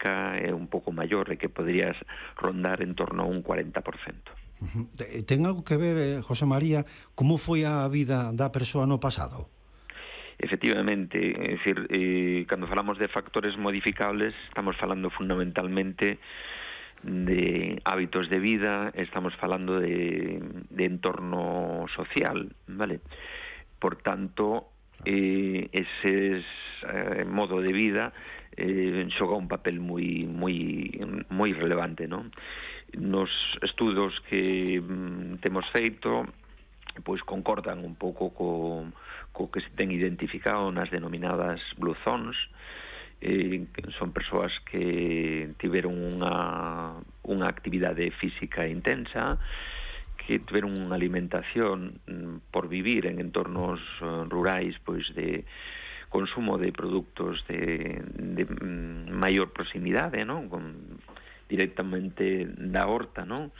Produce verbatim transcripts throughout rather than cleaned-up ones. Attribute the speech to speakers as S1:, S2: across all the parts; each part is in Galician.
S1: metabólica é un pouco maior e que podrías rondar en torno a un cuarenta por cento.
S2: Uh-huh. Ten algo que ver, eh, José María, como foi a vida da persoa no pasado?
S1: Efectivamente, é dicir, eh, cando falamos de factores modificables, estamos falando fundamentalmente de hábitos de vida, estamos falando de, de entorno social, vale? Por tanto, eh, ese eh, modo de vida eh, xoga un papel moi moi moi relevante, non? Nos estudos que mm, temos feito, pois concordan un pouco co, co que se ten identificado nas denominadas blue zones. Eh, son persoas que tiveron unha, unha actividade física intensa, que tiveron unha alimentación mm, por vivir en entornos uh, rurais, pois de consumo de produtos de, de mm, maior proximidade, non? Con, directamente da horta, non?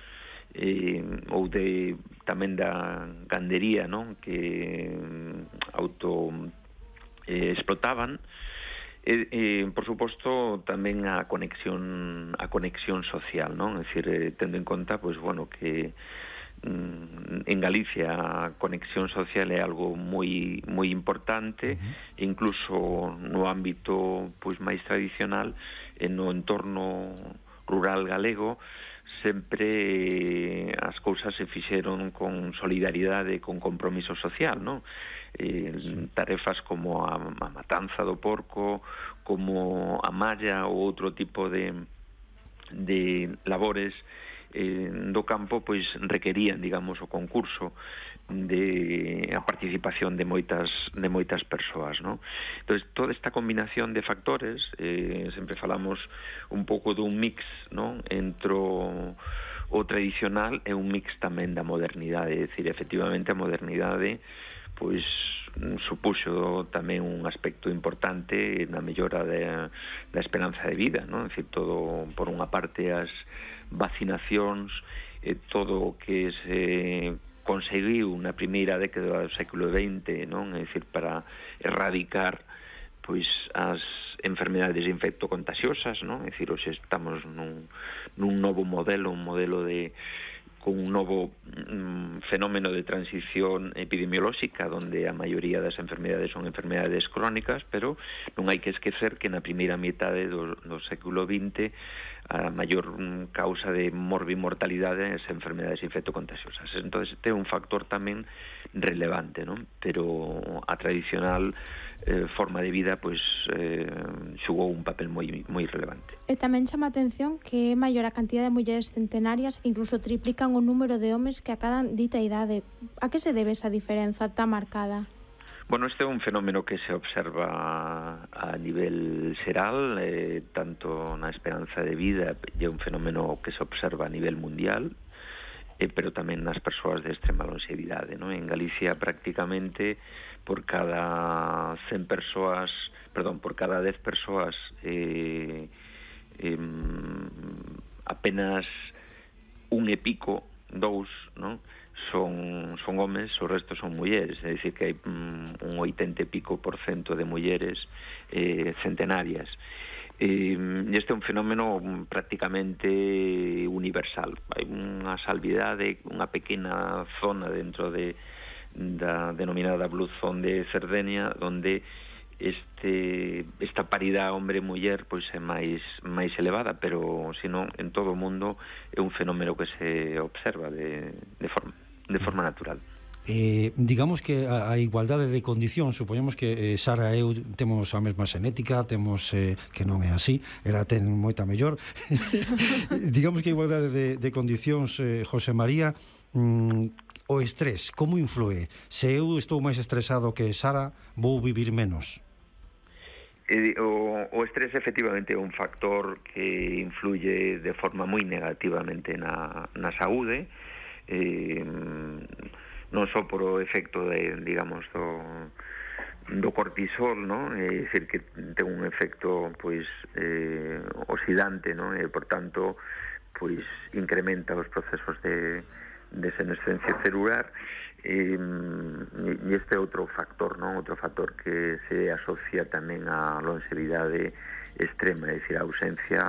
S1: Eh, ou de tamén da gandería, non? Que mm, auto eh, explotaban. E, eh, por suposto, tamén a conexión a conexión social, non? É dicir, eh, tendo en conta, pois, bueno, que mm, en Galicia a conexión social é algo moi moi importante, uh-huh. Incluso no ámbito, pois, máis tradicional, e no entorno rural galego, sempre as cousas se fixeron con solidaridade, con compromiso social, non? Eh, sí. Tarefas como a, a matanza do porco, como a malla ou outro tipo de, de labores eh, do campo, pois requerían, digamos, o concurso de a participación de moitas de moitas persoas, non? Entonces, toda esta combinación de factores, eh, sempre falamos un pouco dun mix, non? Entre o, o tradicional e un mix tamén da modernidade, é dicir, efectivamente a modernidade pois supuxo tamén un aspecto importante na mellora de, da esperanza de vida, non? É dicir, todo, por unha parte, as vacinacións, e todo o que se conseguiu na primeira década do século veinte, non? É dicir, para erradicar pois as enfermedades infectocontaxiosas, non? É dicir, hoxe estamos nun, nun novo modelo, un modelo de con un novo mm, fenómeno de transición epidemiolóxica, donde a maioría das enfermedades son enfermedades crónicas, pero non hai que esquecer que na primeira metade do, do século vinte a maior mm, causa de morbimortalidade é as enfermedades infectocontaxiosas. Entón, este é un factor tamén relevante, non? Pero a tradicional eh, forma de vida pois eh, xugou un papel moi moi relevante.
S3: E tamén chama a atención que é maior a cantidad de mulleres centenarias, incluso triplican o número de homes que acadan dita idade. A que se debe esa diferenza tan marcada?
S1: Bueno, este é un fenómeno que se observa a nivel xeral, eh, tanto na esperanza de vida, e é un fenómeno que se observa a nivel mundial, eh, pero tamén nas persoas de extrema longevidade, non? En Galicia, prácticamente, por cada cen persoas, perdón, por cada dez persoas, eh, eh, apenas un e pico, dous, non? son son homes, o resto son mulleres, é dicir que hai um, un oitenta e pico por cento de mulleres eh, centenarias. E este é un fenómeno prácticamente universal. Hai unha salvidade, unha pequena zona dentro de da denominada Blue Zone de Cerdeña, onde este esta paridade hombre-muller pois é máis máis elevada, pero senón en todo o mundo é un fenómeno que se observa de, de forma de forma natural.
S2: Eh, digamos que a, a igualdade de condicións, supoñemos que eh, Sara e eu temos a mesma xenética, temos eh, que non é así, ela ten moita mellor. Digamos que a igualdade de, de condicións, eh, José María, mm, o estrés, como influe? Se eu estou máis estresado que Sara, vou vivir menos.
S1: Eh, o, o estrés efectivamente é un factor que influye de forma moi negativamente na, na saúde, eh, non só por o efecto de, digamos, do, do cortisol, non? É dicir, que ten un efecto, pois, eh, oxidante, non? E, por tanto, pois, incrementa os procesos de, de senescencia celular, e, e este é outro factor, non? Outro factor que se asocia tamén á longevidade extrema, é dicir, a ausencia